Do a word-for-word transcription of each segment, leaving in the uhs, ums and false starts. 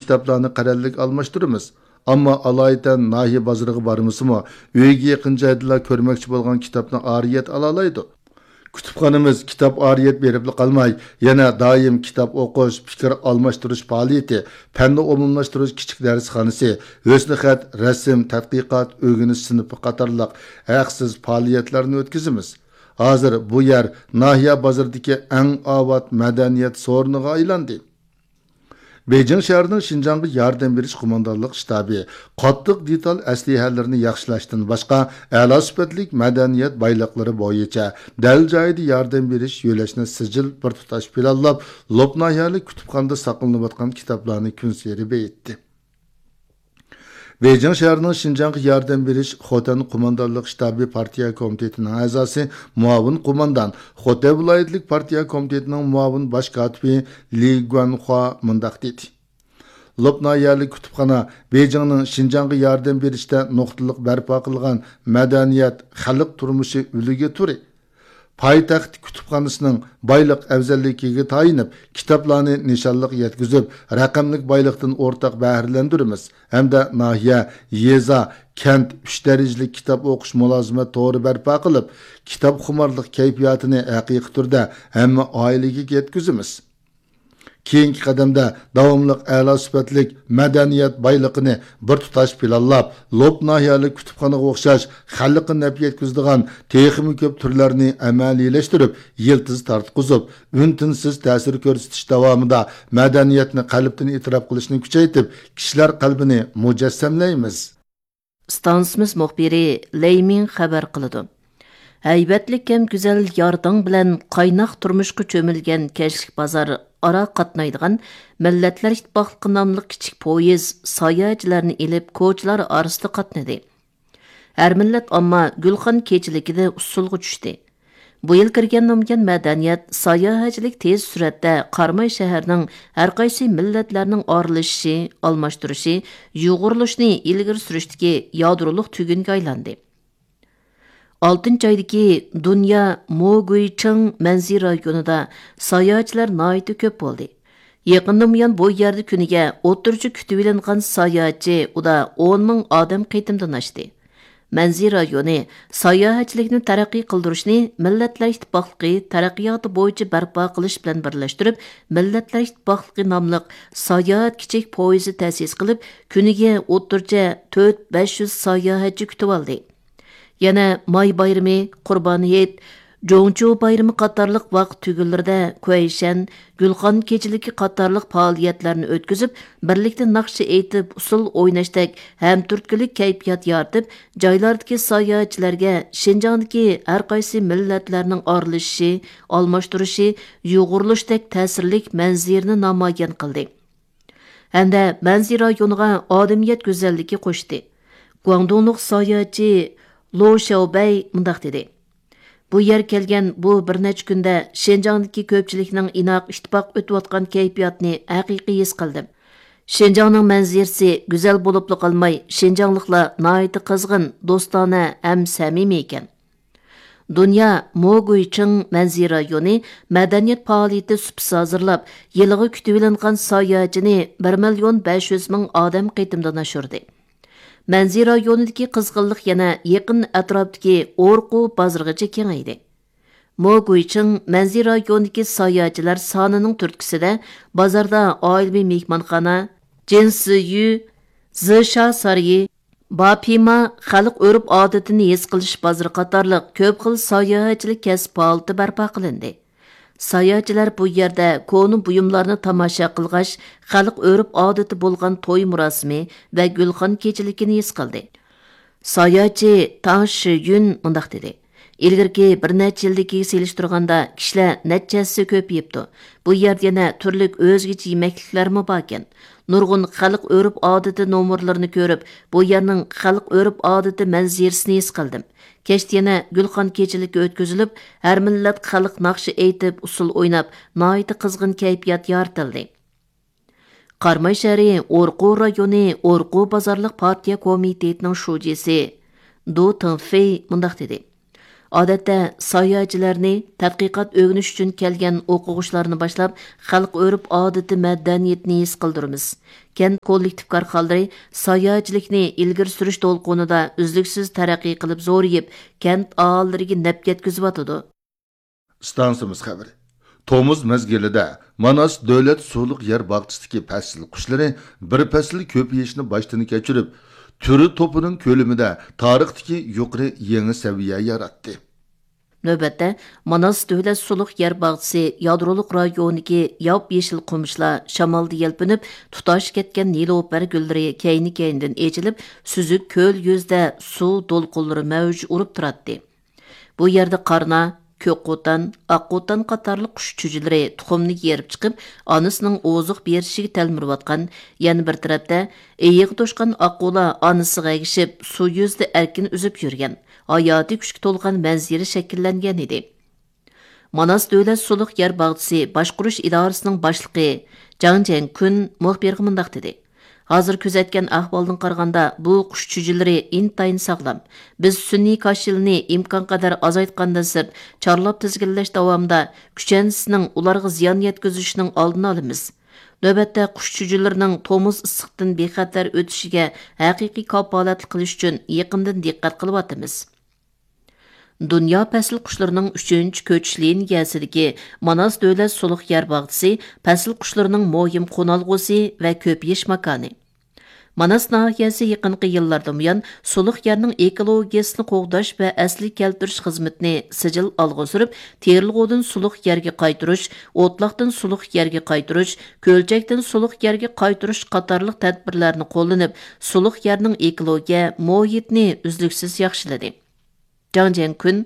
كىتابلارنى قەرەللىك ئالماشتۇرىمىز. ئەمما ئالايىتەن ناھىيە بازىرىغا بارمىسىمۇ، ئۆيىگە يېقىن جايدىلا كۆرمەكچى بولغان كىتابنى ئارىيەت ئالالايدۇ. كۇتۇپخانىمىز كىتاب ئارىيەت بېرىپلا قالماي، يەنە دائىم كىتاب ئوقۇش، پىكىر ئالماشتۇرۇش پائالىيىتى، پەننى ئومۇملاشتۇرۇش كىچىك دەرسخانىسى، ھۆسنىخەت، رەسىم، تەتقىقات، ئۆگىنىش سىنىپى قاتارلىق ھەقسىز پائالىيەتلەرنى ئۆتكۈزىمىز. ھازىر بۇ يەر ناھىيە بازىرىدىكى ئەڭ ئاۋات مەدەنىيەت سورۇنىغا ئايلاندى. بېيجىڭ شەھىرىنىڭ شىنجاڭغا ياردەم بېرىش قوماندانلىق شتابى قاتتىق دېتال ئەسلىھەلىرىنى ياخشىلاشتىن باشقا، ئەلا سۈپەتلىك مەدەنىيەت بايلىقلىرى بويىچە دەل جايىدا ياردەم بېرىش يۆلەشنى سىجىل بىر تۇتاش پىلانلاپ، لوپ ناھىيەلىك كۇتۇپخانىدا ساقلىنىۋاتقان كىتابلارنى كۈنسېرى بېيىتتى. بېيجىڭ شەھىرىنىڭ شىنجاڭغا ياردەم بېرىش خوتەن قوماندانلىق شتابى پارتىيە كومىتېتىنىڭ ئەزاسى، مۇئاۋىن قوماندان، خوتەن ۋىلايەتلىك پارتىيە كومىتېتىنىڭ مۇئاۋىن باش كاتىپى لى گۇەنخۇا مۇنداق دېدى: لوپ ناھىيەلىك كۇتۇپخانا بېيجىڭنىڭ شىنجاڭغا ياردەم بېرىشتە نۇقتىلىق بەرپا قىلغان مەدەنىيەت، خەلق تۇرمۇشى ئۈلگە تۈرى. پايتەخت كۇتۇپخانىسىنىڭ بايلىق ئەۋزەللىكىگە تايىنىپ، كىتابلارنى نىشانلىق يەتكۈزۈپ، رەقەملىك بايلىقتىن ئورتاق بەھرىلەندۈرىمىز ھەمدە ناھىيە، يېزا، كەنت ئۈچ دەرىجىلىك كىتاب ئوقۇش مۇلازىمەت تورى بەرپا قىلىپ، كىتابخۇمارلىق كەيپىياتىنى ھەقىقىي تۈردە ھەممە ئائىلىگە يەتكۈزىمىز. كېيىنكى قەدەمدە داۋاملىق ئەلا سۈپەتلىك مەدەنىيەت بايلىقىنى بىر تۇتاش پىلانلاپ، لوپ ناھىيەلىك كۇتۇپخانىغا ئوخشاش خەلققە نەپ يەتكۈزىدىغان تېخىمۇ كۆپ تۈرلەرنى ئەمەلىيلەشتۈرۈپ، يىلتىز تارتقۇزۇپ، ئۈن-تىنسىز تەسىر كۆرسىتىش داۋامىدا مەدەنىيەتنى قەلبتىن ئېتىراپ قىلىشنى كۈچەيتىپ، كىشىلەر قەلبىنى مۇجەسسەملەيمىز. ئىستانسىمىز مۇخبىرى لەي مىڭ خەۋەر قىلىدۇ. ھەيۋەتلىك ھەم گۈزەل يارداڭ بىلەن قايناق تۇرمۇشقا چۆمۈلگەن كەچلىك بازار ئارا قاتنايدىغان مىللەتلەر ئىتتىپاقلىقى ناملىق كىچىك پويىز ساياھەتچىلەرنى ئېلىپ، كوچىلار ئارىسىدا قاتنىدى. ھەر مىللەت ئامما گۈلخان كېچىلىكىدە ئۇسسۇلغا چۈشتى. بۇ يىل كىرگەن نامىيان مەدەنىيەت، ساياھەتچىلىك تېز سۈرئەتتە قاراماي شەھەرنىڭ ھەرقايسى مىللەتلەرنىڭ ئارىلىشىشى، ئالماشتۇرۇشى، يۇغۇرلىشىشىنى ئىلگىرى سۈرۈشتىكى يادرولۇق تۈگۈنگە ئايلاندى. ئالتىنچى ئايدىكى دۇنيا موگۇيچىڭ مەنزىرە رايونىدا ساياھەتچىلەر ناھايىتى كۆپ بولدى. يېقىندىن بۇيان بۇ يەردە كۈنىگە ئوتتۇرىچە كۈتۈۋېلىنغان ساياھەتچى ئۇدا ئون مىڭ ئادەم قېتىمدىن ئاشتى. مەنزىرە رايونى ساياھەتچىلىكنى تەرەققىي قىلدۇرۇشنى مىللەتلەر ئىتتىپاقلىقى تەرەققىياتى بويىچە بەرپا قىلىش بىلەن بىرلەشتۈرۈپ، مىللەتلەر ئىتتىپاقلىقى ناملىق ساياھەت كىچىك پويىزى تەسىس قىلىپ، كۈنىگە ئوتتۇرىچە تۆت بەش يۈز ساياھەتچى كۈتۈۋالدى. يەنە ماي بايرىمى، قۇربان ھېيت، جوڭچۇ بايرىمى قاتارلىق ۋاقىت تۈگۈنلىرىدە كۇەيشەن، گۈلخان كېچىلىكى قاتارلىق پائالىيەتلەرنى ئۆتكۈزۈپ، بىرلىكتە ناخشا ئېيتىپ، ئۇسسۇل ئويناشتەك ھەمتۈرتكىلىك كەيپىيات يارىتىپ، جايلاردىكى ساياھەتچىلەرگە شىنجاڭدىكى ھەرقايسى مىللەتلەرنىڭ ئارىلىشىشى، ئالماشتۇرۇشى، يۇغۇرۇلۇشتەك تەسىرلىك مەنزىرىنى نامايان قىلدى. ھەمدە مەنزىرە رايونىغا ئادەمىيەت گۈزەللىكى قوشتى. گۇاڭدۇڭلۇق ساياھەتچى لو شياۋبەي مۇنداق دېدى: بۇ يەرگە كەلگەن بۇ بىر نەچچە كۈندە شىنجاڭدىكى كۆپچىلىكنىڭ ئىناق، ئىتتىپاق ئۆتۈۋاتقان كەيپىياتىنى ھەقىقىي ھېس قىلدىم. شىنجاڭنىڭ مەنزىرىسى گۈزەل بولۇپلا قالماي، شىنجاڭلىقلار ناھايىتى قىزغىن، دوستانە ھەم سەمىمىي ئىكەن. دۇنيا موگۇيچىڭ مەنزىرە رايونى مەدەنىيەت پائالىيىتى سۇپىسى ھازىرلاپ، يىلىغا كۈتۈۋېلىنغان ساياھەتچىنى بىر مىليون بەش يۈز مىڭ ئادەم قېتىمدىن ئاشۇردى. مەنزىرە رايونىدىكى قىزغىنلىق يەنە يېقىن ئەتراپتىكى ئورقۇ بازىرىغىچە كېڭەيدى. موگۇيچىڭ مەنزىرە رايونىدىكى ساياھەتچىلەر سانىنىڭ تۈرتكىسىدە بازاردا ئائىلىۋى مېھمانخانا، جىنسىيۈ، زىشا سارىيى، باپىما، خەلق ئۆرپ-ئادىتىنى ھېس قىلىش بازىرى قاتارلىق كۆپ خىل ساياھەتچىلىك كەسىپ پائالىيىتى بەرپا قىلىندى. ساياھەتچىلەر بۇ يەردە كونا بۇيۇملارنى تاماشا قىلغاچ، خەلق ئۆرپ-ئادىتى بولغان توي مۇراسىمى ۋە گۈلخان كېچىلىكىنى ھېس قىلدى. ساياھەتچى تاڭ شىيۈن مۇنداق دېدى: ئىلگىرىكى بىر نەچچە يىلدىكىگە سېلىشتۇرغاندا، كىشىلەر نەچچە ھەسسە كۆپىيىپتۇ. بۇ يەردە يەنە تۈرلۈك ئۆزگىچە يېمەكلىكلەرمۇ باركەن. نۇرغۇن خەلق ئۆرپ-ئادىتى نومۇرلىرىنى كۆرۈپ، بۇ يەرنىڭ خەلق ئۆرپ-ئادىتى مەنزىرىسىنى ھېس قىلدىم. كەچتە يەنە گۈلخان كېچىلىكى ئۆتكۈزۈلۈپ، ھەر مىللەت خەلق ناخشا ئېيتىپ، ئۇسسۇل ئويناپ، ناھايىتى قىزغىن كەيپىيات يارىتىلدى. قاراماي شەھىرى ئورقۇ رايونى ئورقۇ بازارلىق پارتىيە كومىتېتىنىڭ شۇجىسى دۇ تىڭفېي مۇنداق دېدى: ئادەتتە ساياھەتچىلەرنى تەتقىقات ئۆگىنىش ئۈچۈن كەلگەن ئوقۇغۇچىلارنى باشلاپ، خەلق ئۆرپ ئادىتى مەدەنىيىتىنى ھېس قىلدۇرىمىز. كەنت كوللېكتىپ كارخانىلىرى ساياھەتچىلىكنى ئىلگىرى سۈرۈش دولقۇنىدا ئۈزلۈكسىز تەرەققىي قىلىپ زورىيىپ، كەنت ئاھالىلىرىگە نەپ يەتكۈزۈۋاتىدۇ. ئىستانسىمىز خەۋىرى. تومۇز مەزگىلىدە ماناس دۆلەت سۇلۇق يەر باغچىسىدىكى پەسىل قۇشلىرى بىر پەسىل كۆپىيىشنى باشتىن كەچۈرۈپ، تۈر توپىنىڭ كۆلىمىدە تارىختىكى يۇقىرى يېڭى سەۋىيە ياراتتى. نۆۋەتتە، ماناس دۆلەت سۇلۇق يەر باغچىسى يادرولۇق رايونىدىكى ياپيېشىل قومۇشلار شامالدا يەلپۈنۈپ، تۇتاش كەتكەن نېلۇپەر گۈللىرى كەينى-كەينىدىن ئېچىلىپ، سۈزۈك كۆل يۈزىدە سۇ دولقۇنلىرى مەۋج ئۇرۇپ تۇراتتى. بۇ يەردە قارنا، كۆك قوتان، ئاق قوتان قاتارلىق قۇش چۈجىلىرى تۇخۇمنى يېرىپ چىقىپ، ئانىسىنىڭ ئوزۇق بېرىشىگە تەلمۈرۈۋاتقان، يەنە بىر تەرەپتە ئېيىغا توشقان ئاققۇلار ئانىسىغا ئەگىشىپ، سۇ يۈزىدە ئەركىن ئۈزۈپ يۈرگەن ھاياتىي كۈچكە تولغان مەنزىرە شەكىللەنگەن ئىدى. ماناس دۆلەت سۇلۇق يەر باغچىسى باشقۇرۇش ئىدارىسىنىڭ باشلىقى جاڭ جيەنكۈن مۇخبىرغا مۇنداق دېدى: ھازىر كۆزەتكەن ئەھۋالدىن قارىغاندا، بۇ قۇش چۈجىلىرى ئىنتايىن ساغلام. بىز سۈنئىي كاش يىلىنى ئىمكانقەدەر ئازايتقاندىن سىرت، چارلاپ تىزگىنلەش داۋامىدا كۈچەنسىنىڭ ئۇلارغا زىيان يەتكۈزۈشىنىڭ ئالدىنى ئالىمىز. نۆۋەتتە قۇش چۈجىلىرىنىڭ تومۇز ئىسسىقتىن بىخەتەر ئۆتۈشىگە ھەقىقىي كاپالەتلىك قىلىش ئۈچۈن يېقىندىن دىققەت قىلىۋاتىمىز. دۇنيا پەسىل قۇشلىرىنىڭ ئۈچىنچى كۆچۈش لىنىيەسىدىكى ماناس دۆلەت سۇلۇق يەر باغچىسى پەسىل قۇشلىرىنىڭ مۇھىم قونالغۇسى ۋە كۆپىيىش ماكانى. ماناس ناھىيەسى يېقىنقى يىللاردىن بۇيان سۇلۇق يەرنىڭ ئېكولوگىيەسىنى قوغداش ۋە ئەسلىگە كەلتۈرۈش خىزمىتىنى سىجىل ئالغا سۈرۈپ، تېرىلغۇدىن سۇلۇق يەرگە قايتۇرۇش، ئوتلاقتىن سۇلۇق يەرگە قايتۇرۇش، كۆلچەكتىن سۇلۇق يەرگە قايتۇرۇش قاتارلىق تەدبىرلەرنى قوللىنىپ، سۇلۇق يەرنىڭ ئېكولوگىيە مۇھىتىنى ئۈزلۈكسىز ياخشىلىدى. جاڭ جيەنكۈن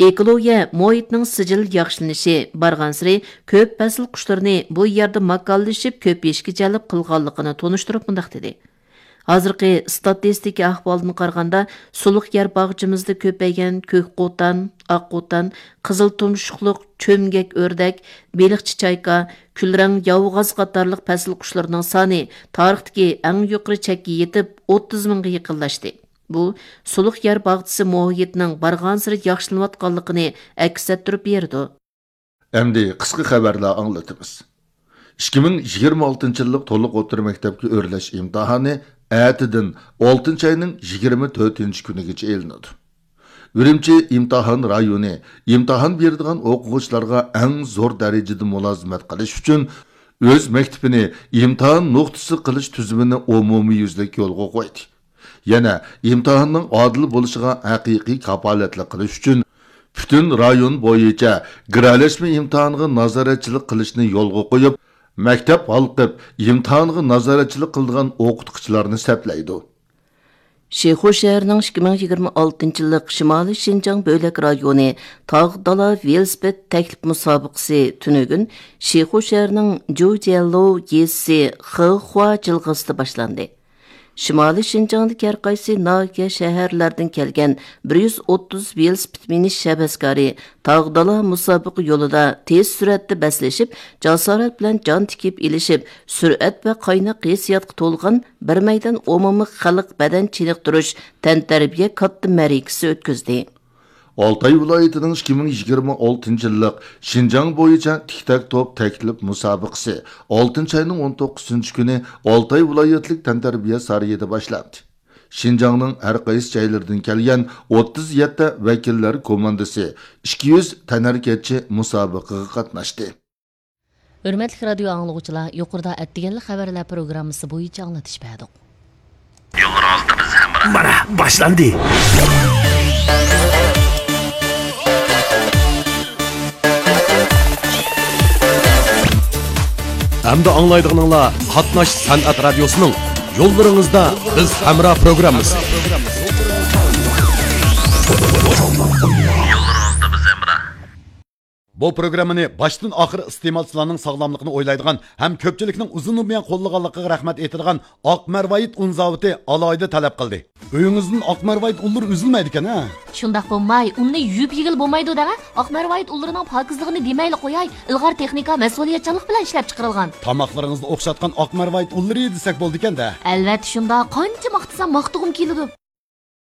ئېكولوگىيە مۇھىتنىڭ سىجىل ياخشىلىنىشى بارغانسېرى كۆپ پەسىل قۇشلىرىنى بۇ يەردە ماكانلىشىپ كۆپىيىشكە جەلپ قىلغانلىقىنى تونۇشتۇرۇپ مۇنداق دېدى: ھازىرقى ئىستاتىستىكا ئەھۋالىدىن قارىغاندا، سۇلۇق يەر باغچىمىزدا كۆپەيگەن كۆك قوتان، ئاق قوتان، قىزىل تۇمشۇقلۇق چۆمگەك ئۆردەك، بېلىقچى چايكا، كۈلرەڭ ياۋىغاز قاتارلىق پەسىل قۇشلىرىنىڭ سانى تارىختىكى ئەڭ يۇقىرى چەككە يېتىپ، ئوتتۇز مىڭغا يېقىنلاشتى. بۇ، سۇلۇق يەر باغچىسى مۇھىتىنىڭ بارغانسېرى ياخشىلىنىۋاتقانلىقىنى ئەكس ئەتتۈرۈپ بېرىدۇ. ئەمدى قىسقا خەۋەرلەر ئاڭلىتىمىز. ئىككى مىڭ يىگىرمە ئالتىنچى يىللىق تولۇق ئوتتۇرا مەكتەپكە ئۆرلەش ئىمتىھانى ئەتىدىن ئالتىنچى ئاينىڭ يىگىرمە تۆتىنچى كۈنىگىچە ئېلىنىدۇ. ئۈرۈمچى ئىمتىھان رايونى ئىمتىھان بېرىدىغان ئوقۇغۇچىلارغا ئەڭ زور دەرىجىدە مۇلازىمەت قىلىش ئۈچۈن ئۆز مەكتىپىنى ئىمتىھان نۇقتىسى قىلىش تۈزۈمىنى ئومۇميۈزلۈك يولغا قويدى. يەنە ئىمتىھاننىڭ ئادىل بولۇشىغا ھەقىقىي كاپالەتلىك قىلىش ئۈچۈن، پۈتۈن رايون بويىچە گىرەلەشمە ئىمتىھانغا نازارەتچىلىك قىلىشنى يولغا قويۇپ، مەكتەپ ھالقىپ ئىمتىھانغا نازارەتچىلىك قىلىدىغان ئوقۇتقۇچىلارنى سەپلەيدۇ. شىخۇ شەھىرىنىڭ ئىككى مىڭ يىگىرمە ئالتىنچى يىللىق شىمالىي شىنجاڭ بۆلەك رايونى تاغ دالا ۋېلىسىپىت تەكلىپ مۇسابىقىسى تۈنۈگۈن شىخۇ شەھىرىنىڭ جۇجيەنلو يېزىسى خېخۇا جىلغىسىدا باشلاندى. شىمالىي شىنجاڭدىكى ھەر قايسى ناھىيە، شەھەرلەردىن كەلگەن بىر يۈز ئوتتۇز ۋېلىسىپىت مىنىش ھەۋەسكارى تاغ دالا مۇسابىقە يولىدا تېز سۈرئەتتە بەسلىشىپ، جاسارەت بىلەن جان تىكىپ ئېلىشىپ، سۈرئەت ۋە قايناق ھېسسىياتقا تولغان بىر مەيدان ئومۇمىي خەلق بەدەن چېنىقتۇرۇش تەنتەربىيە كاتتا مەرىكىسى ئۆتكۈزدى. ئالتاي ۋىلايىتىنىڭ ئىككى مىڭ يىگىرمە ئالتىنچى يىللىق شىنجاڭ بويىچە تىك تاك توپ تەكلىپ مۇسابىقىسى ئالتىنچى ئاينىڭ ئون توققۇزىنچى كۈنى ئالتاي ۋىلايەتلىك تەنتەربىيە سارىيىدا باشلاندى. شىنجاڭنىڭ ھەر قايسى جايلىرىدىن كەلگەن ئوتتۇز يەتتە ۋەكىللەر كوماندىسى، ئىككى يۈز تەنھەرىكەتچى مۇسابىقىگە قاتناشتى. ھۆرمەتلىك رادىيو ئاڭلىغۇچىلار، يۇقىرىدا ئەتىگەنلىك خەۋەرلەر پروگراممىسى بويىچە ئاڭلىتىش بەردۇق. يوللىرىڭىزدا بىز ھەمراھ. مانا، باشلاندى. ئەمدى ئاڭلايدىغىنىڭلار قاتناش سەنئەت رادىيوسىنىڭ يوللىرىڭىزدا بىز ھەمراھ پروگراممىسى. يوللىرىڭىزدا بىز ھەمراھ. بۇ پروگراممىنى باشتىن ئاخىر ئىستېمالچىلارنىڭ ساغلاملىقىنى ئويلايدىغان ھەم كۆپچىلىكنىڭ ئۇزۇندىن بۇيان قوللىغانلىقىغا رەھمەت ئېيتىدىغان ئاق مەرۋايىت ئۇن زاۋۇتى ئالاھىدە تەلەپ قىلدى. ئۆيىڭىزدىن ئاق مەرۋايىت ئۇنلىرى ئۈزۈلمەيدىكەن ھە؟ شۇنداق بولماي، ئۇننى يۇيۇپ يېگىلى بولمايدۇ دەڭە. ئاق مەرۋايىت ئۇنلىرىنىڭ پاكىزلىقىنى دېمەيلى قوياي، ئىلغار تېخنىكا، مەسئۇلىيەتچانلىق بىلەن ئىشلەپ چىقىرىلغان. تاماقلىرىڭىزنى ئوخشاتقان ئاق مەرۋايىت ئۇنلىرى دېسەك بولىدىكەن-دە. ئەلۋەتتە شۇنداق، قانچە ماختىسام ماختىغۇم كېلىدۇ.